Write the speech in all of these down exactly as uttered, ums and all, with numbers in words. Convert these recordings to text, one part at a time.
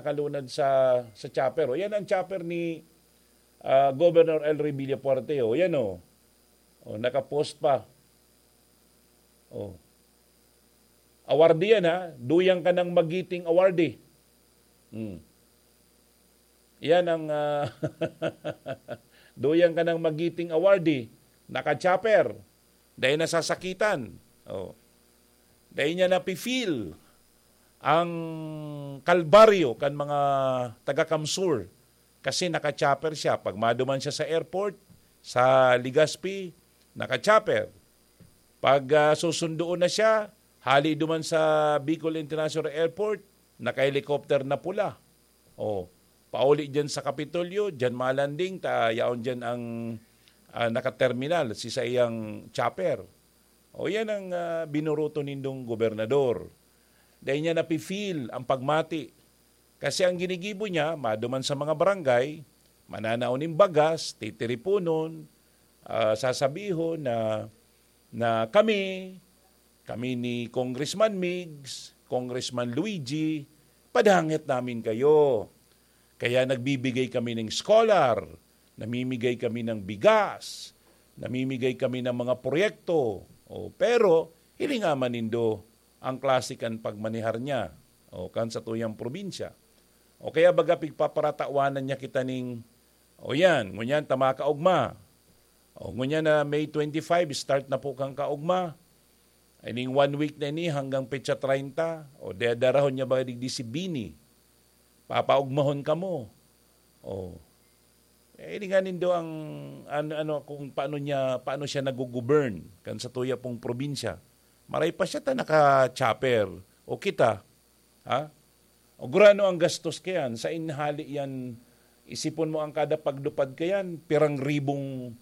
nakalunad sa, sa chopper. O, yan ang chopper ni, ah, Governor Elroy Villafuerte. O, yan o. O, nakapost pa. O. Awardee yan, ha? Duyang ka ng magiting awardee. Hmm. Yan ang, ah, duyang ka ng magiting awardee. Naka-chopper. Dahil nasasakitan. O. Dahil niya napi-feel ang kalbaryo kan mga taga-Kamsur. Kasi naka-chopper siya. Pag maduman siya sa airport, sa Legazpi, naka-chopper. Pag, ah, susundoon na siya, hali duman sa Bicol International Airport, naka-helicopter na pula. O, pauli diyan sa Kapitolyo, diyan malanding, ta yaon diyan ang, ah, naka-terminal, si saiyang chopper. O, yan ang, ah, binuruto nindong gobernador. Dahil niya napi-feel ang pagmati. Kasi ang ginigibo niya, maduman sa mga barangay, mananao nin bagas, titiriponon, ah, sasabihon na, na kami, kami ni Congressman Migs, Congressman Luigi, padangit namin kayo. Kaya nagbibigay kami ng scholar, namimigay kami ng bigas, namimigay kami ng mga proyekto. O, pero, hilinga man nindo ang klase kan pagmanehar niya, o, kan satuyang probinsya. O kaya baga pigpaparatawanan niya kita ning, "O yan, ngunyan ta makaogma. O ngunyan na May twenty-five, start na po kang kaogma. Ay ning one week na ini hanggang petsa treinta, o, dadarahon niya ba digdi si Bini? Papaogmahon kamo." O. Eh, hilinga nindo ang, an-, ano, kung paano niya, paano siya naggo-govern kan satuya pong probinsya. Maray pa siya ta naka-chopper. O kita, ha? O gurano ang gastos kayan? Sa inhali yan, isipon mo ang kada paglupad kayan, pirang ribong,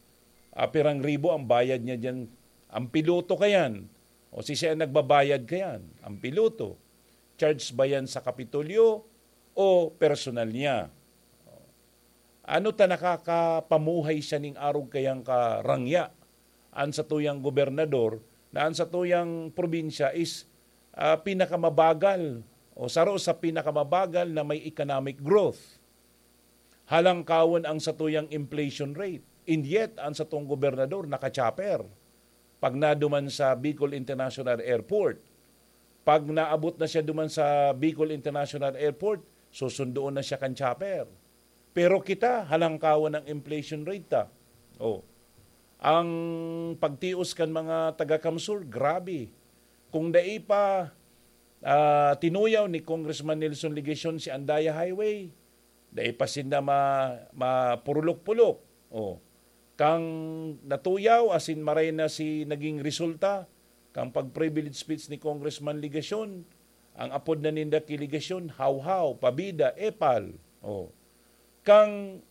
ah, pirang ribo ang bayad niya diyan. Ang piloto kayan, o si siya ang nagbabayad kayan, ang piloto. Charge ba yan sa Kapitolyo o personal niya? Ano ta nakakapamuhay siya ning arog kayang karangya? An satuyang gobernador na an satuyang probinsya is, ah, pinakamabagal o saro sa pinakamabagal na may economic growth. Halangkawon ang satuyang inflation rate. And yet, ang satong gobernador naka-chopper pag naduman sa Bicol International Airport. Pag naabot na siya duman sa Bicol International Airport, susundoon na siya kan chopper. Pero kita, halangkawan ang inflation rate ta. Oh. Ang pagtios kan mga taga-Kamsur, grabe. Kung dai pa, ah, tinuyaw ni Congressman Nelson Legacion si Andaya Highway, dai pa sinda ma-, mapurulok-pulok. Oh. Kang natuyaw, asin maray na si naging resulta, kang pag-privilege speech ni Congressman Legacion, ang apod na ninda ki Legacion, Hawhaw, Pabida, Epal. Oh. Kang,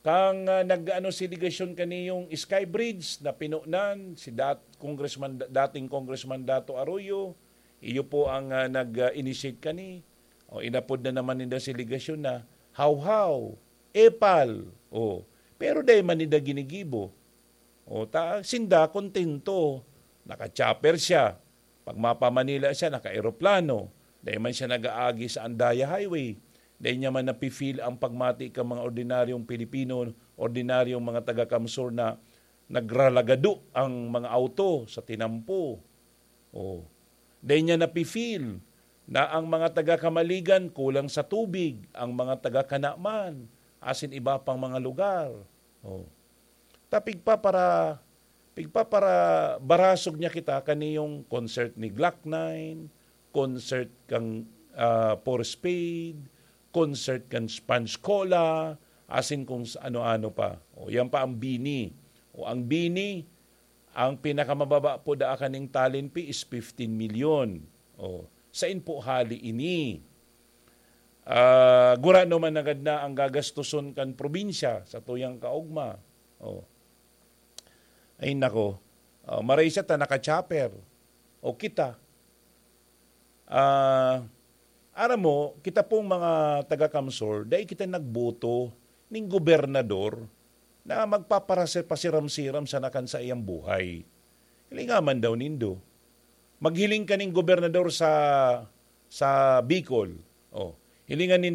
kang, ah, nag-ano si Legacion kaniyong Sky Bridge na pinunan, si dat-, Congressman, dating Congressman Dato Arroyo, iyo po ang, ah, nag-initiate kani. O, inapod na naman ninda si Legacion na Hawhaw, Epal. O, pero dai man ninda ginigibo. O, ta, sinda kontento. Naka-chopper siya. Pag mapa-Manila siya, naka-eroplano. Dai man siya nag-aagi sa Andaya Highway. Dai niya man napi-feel ang pagmati kan mga ordinaryong Pilipino, ordinaryong mga taga-Kamsur na nagralagado ang mga auto sa tinampo. O, dai niya napi-feel na ang mga taga-Camaligan kulang sa tubig, ang mga taga-Canaman, asin iba pang mga lugar. O. Ta pigpapara-, pigpaparabarasog niya kita kaniyong concert ni Glock nine, concert kang, ah, Four Spade, concert kan Sponge Cola, asin kung sa ano-ano pa. O, yan pa ang BINI. O, ang BINI, ang pinakamababa po daa kaning talent fee is fifteen milyon. O, sain po hali ini? Ah, gurano man nanggad na ang gagastoson kan probinsya sa tuyang kaogma. O. Ay nako. O, maray siya ta naka-chopper. O kita. Ah, aram mo, kita pong mga taga-Kamsur, dai kita nagboto ning gobernador na magpaparase-, pasiram-siram sana kan saiyang buhay. Hilinga man daw nindo. Maghiling ka ning gobernador sa, sa Bicol. O, hilingan nindo